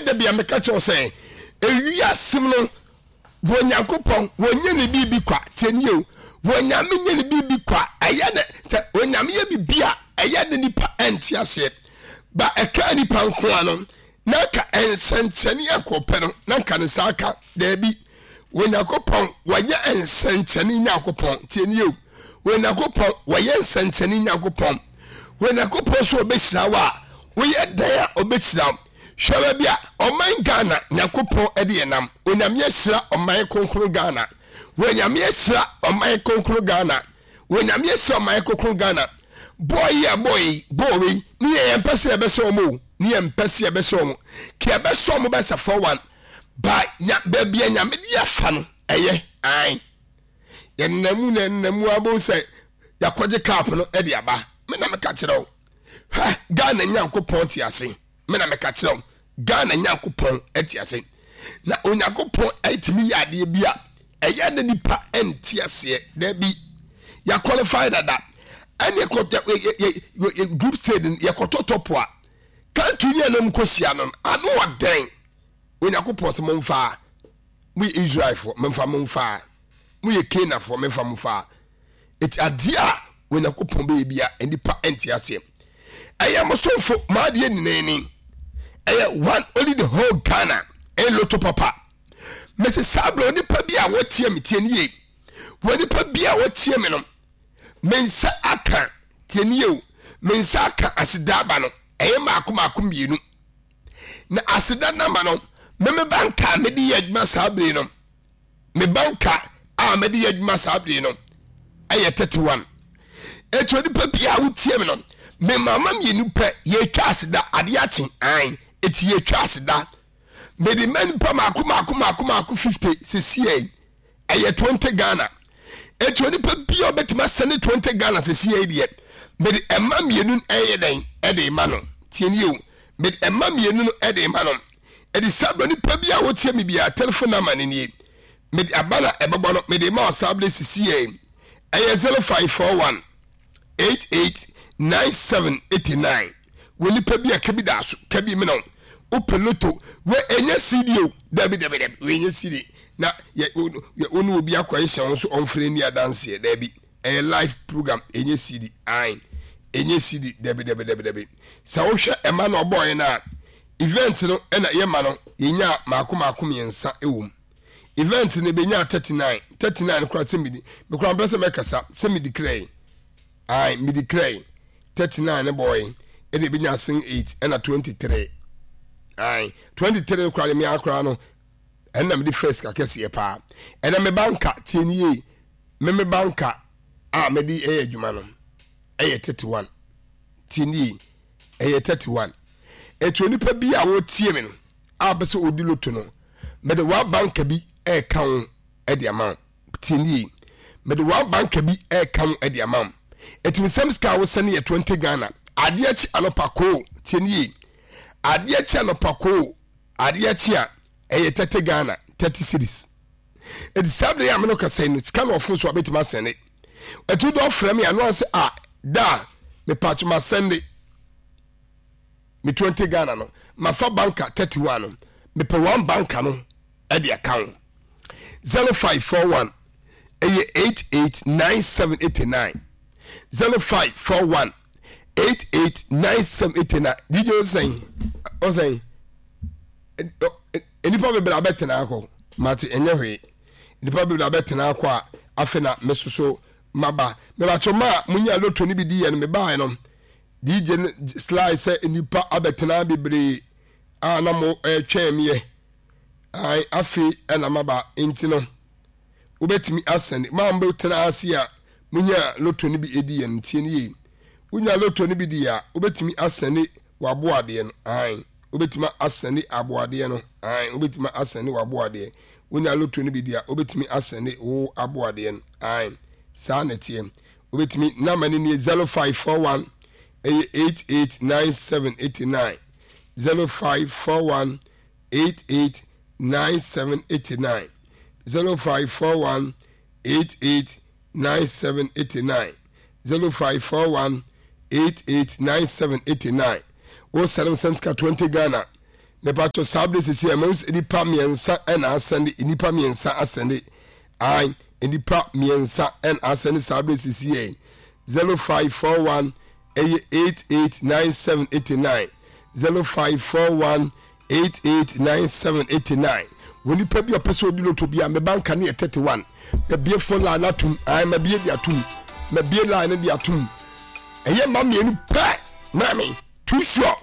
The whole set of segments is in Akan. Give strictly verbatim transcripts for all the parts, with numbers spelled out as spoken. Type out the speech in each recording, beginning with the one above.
da bia meka kyerɛ wo sɛ ewiase mu no wɔ Nyankopɔn wɔnyɛ ne biribi kwa. Tie nie o, wɔ Nyame nyɛ ne biribi kwa. Ɛyɛ ne sɛ Onyame yɛ biribi a ɛyɛ ne nipa ɛnte aseɛ, ba ɛka nipa nko ano na nka nsɛnkyɛnne a kɔpɛ no na nka ne nsa aka. Daabi, Onyankopɔn wɔnyɛ nsɛnkyɛnne Nyankopɔn. Tie nie o, Onyankopɔn wɔyɛ nsɛnkyɛnne Nyankopɔn. Onyankopɔn so ɔbɛhyira wo a, woyɛ dan a ɔbɛhyira wo. Hwɛ baabi a ɔman Ghana Nyankopɔn de yɛ nam. Onyame ahyira ɔman kronkron Ghana. Onyame ahyira ɔman kronkron Ghana. Onyame ahyira ɔman kronkron Ghana. Bɔɔl yi a bɔɔl yi bɔɔl wei ne yɛ yɛn mpɛ sɛ yɛbɛhyɛ wɔn o, ne yɛn mpɛ sɛ yɛbɛhyɛ wɔn. Ka yɛbɛhyɛ wɔn bɛsɛ four one. Ba nya baabi a Nyame de afa no ɛyɛ ae. Yɛnenam mu na yɛnenam mu abom sɛ yɛakɔgye cup no de aba. Me na meka kyerɛ wo. Hwɛ, Ghana Nyankopɔn te ase. Me na meka kyerɛ wo. Ghana Nyankopɔn te ase. Na Onyankopɔn atumi yɛ adeɛ bi a ɛyɛ na nipa nte aseɛ. Dabi, yɛaqualify dada. Ɛne yɛ group stage yɛkɔtɔ top a, country ne ɛnom kɔhyia no, ano ɔdɛn. Onyankopɔn sɛ momfa, moyɛ Israelfoɔ, momfa momfa, moyɛ Canaanfoɔ, momfa momfa. Eti adeɛ a Onyankopɔn bɛyɛ bia nnipa nte aseɛ. Ɛyɛ mo somfo maadeɛ nyinaa ni. Ɛyɛ one only the whole Ghana ɛyɛ loto papa. Mese saa berɛ onipa bi a wɔtie me tie nie. Wɔ nipa bi a wɔtie me no, me nsa aka tie nie o, me nsa aka aseda aba no ɛyɛ maako maako mmienu. Na aseda nama no me me banka a mede yɛ adwuma saa bere no, me banka a mede yɛ adwuma saa bere no ɛyɛ thirty one. Etu onipa bi a wotie me no, me mama mmienu pɛ yɛtwa aseda adeɛ akye an eti yɛtwa aseda. Mede ma nipa maako maako maako maako fifty sisi yɛ ɛyɛ twenty Ghana. Etu onipa bi a ɔbɛtumi asɛne twenty Ghana sisi yɛ deɛ mede ɛma mmienu ɛyɛ dɛn ɛde ma no. Tie nie o, mede ɛma mmienu no ɛde ma no. Ɛde saa berɛ nipa bi a wotie me biara telephone number no nie. Mede aba na ɛbɛbɔ no mede ma ɔsaa berɛ sisi yɛ ɛyɛ zero five four one eight eight nine seven eight nine. Wɔ nipa bi a kabi da so kabi mena wopɛ loto wɔ ɛnyɛ C D o, dabi dabi dabi wɔ ɛnyɛ C D na yɛ wo ne obi akɔ ɛhyɛ wo so ɔmfrɛ ni adanseɛ. Dabi, ɛyɛ live program, ɛnyɛ C D ae, ɛnyɛ C D dabi dabi dabi dabi. Sɛ wohwɛ ɛma na ɔbɔɔyɛ no a event no ɛna yɛma no yɛnya maako maako mmiɛnsa ɛwɔ mu. Event no bɛnya thirty nine thirty nine koraa sɛ medi mekora mpɛ sɛ mɛkasa sɛ medi krɛe ae medi krɛe thirty nine ne bɔɔyɛ ɛna ɛbɛnya sen eight ɛna twenty three ae twenty three koraa de mea koraa no ɛna mede first kakɛseɛ paa. Ɛna me banka tie nie yie, me me banka a mede ɛyɛ adwuma no ɛyɛ thirty one. Tie nie, ɛyɛ thirty one. Ɛti onipa bi a wɔtie me no a bɛ sɛ ɔdi loto no, mede one banka bi ɛɛka ho ɛde ama wo. Tie nie, mede one banka bi ɛɛka ho ɛde ama wo. Ɛti mesɛm sika a wosɛne yɛ twenty Ghana. Adeɛ kye anɔpa koo, tie nie, adeɛ kye anɔpa koo, adeɛ kye a ɛyɛ thirty Ghana, thirty cedis. Ɛti saa bere a me no kasa yi no, sika na ɔfo so a bɛtumi asɛnde. Ɛti wode ɔfrɛ me a, no ansɛ a da a mepatwo masɛnde me twenty Ghana no, mafa banka thirty one no, mepɛ one banka no ɛde aka ho. zero five four one ɛyɛ eight eight nine seven eight nine zero five four one eight eight nine seven eight nine. D J ɔsɛn ɔsɛn nnipa bebree abɛtena akɔ mate ɛnyɛ hwee. Nnipa bebree abɛtena akɔ a afei na me soso maba. Mebatwo ma a munya loto no bi di yɛ no mebaeɛ no D J no slide sɛ nnipa abɛtena bebree a na mo ɛretwɛn meɛ. Ae afei ɛna maba nti no wobɛtumi asɛne ma mobɛtena ase a munya loto no bi edi yɛ no. Tie no yie, wonya loto no bi di a wobɛtumi asɛne waboadeɛ no. Ae wobɛtumi asɛne aboadeɛ no. Ae wobɛtumi asɛne waboadeɛ. Wonya loto no bi di a wobɛtumi asɛne wo aboadeɛ no. Ae saa na ɛteɛ. Wobɛtumi nama no nie zero five four one ɛyɛ eight eight nine seven eight nine zero five four one eight eight nine seven eight nine zero five four one eight eight nine seven eight nine zero five four one eight eight nine seven eight nine. Wo sɛlɛm sɛm sika twenty Ghana Mepatɔ saa bere sisi ɛ, mahu sɛ nnipa mmiɛnsa ɛna asɛnde, nnipa mmiɛnsa asɛnde. Ae, nnipa mmiɛnsa ɛna asɛnde saa bere sisi ɛ. Zero five four one ɛyɛ eight eight nine seven eighty nine. Zero five four one eight eight nine seven eighty nine. Wɔ nipa bi a ɔpɛ sɛ ɔdi loto bi a, me banka ne yɛ thirty one. Mabie phone line no atom. Ae, mabie de atom. Mabie line no de atom. Ɛyɛ mma mmienu pɛ, maame. Too sure.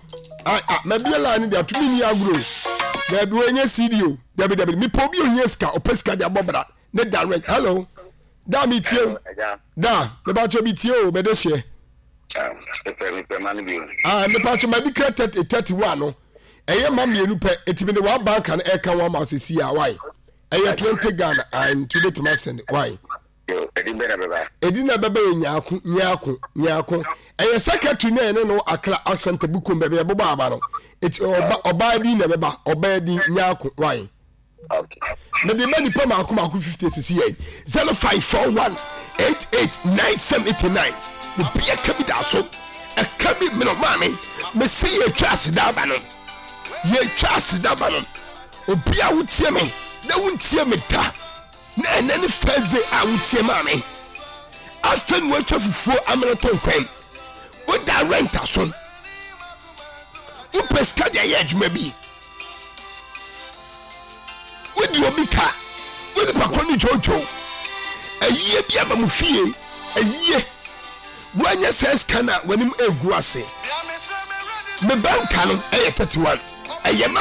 Ah, ah, mabie line no de ato me ni agorɔ o. Dabi wɔnyɛ C D o. Dabi dabi, mepɛ obi ohia sika, ɔpɛ sika de abɔ bra. Ne direct. Hello. Da mi tie o. Da, mepa kyɛ bi tie o, bɛde hyɛ. Ah, mepa kyɛ ma di kra thirty thirty one no. Ɛyɛ ma mmienu pɛ, eti mi de one bank no ɛka wɔn ama sisi a why? Ɛyɛ twenty Ghana, ah, nti wobɛtumi asɛn why? Ɛdi bɛ na bɛba. Ɛdi na bɛba yɛ Nyaako, Nyaako, Nyaako. Ɛyɛ secretary na ɛne no Akra accent bukum baabi ɛbobɔ aba no. Eti ɔba ɔbaa din na ɛbɛba, ɔbaa din Nyaako why? Mede ma nipa mako mako fifty sisi yɛ zero five four one eight eight nine seven eight nine. Obi ɛka bi da so, ɛka bi mene maame mesi yɛ twa aseda aba no, yɛ twa aseda aba no. Obi a wotie me na wontie me da na ɛnɛ ne first day a wotie maame, afei na woatwa fufuo amene to nkwan, woda rent aso, wopɛ sika de ayɛ adwuma bi, wodi obi ka, wo nipa kɔ ne dwodwo ayie bi aba mu fie ayie, woanyɛ sɛ sika no a w'anim egu ase. Me banka no ɛyɛ thirty one, ɛyɛ ma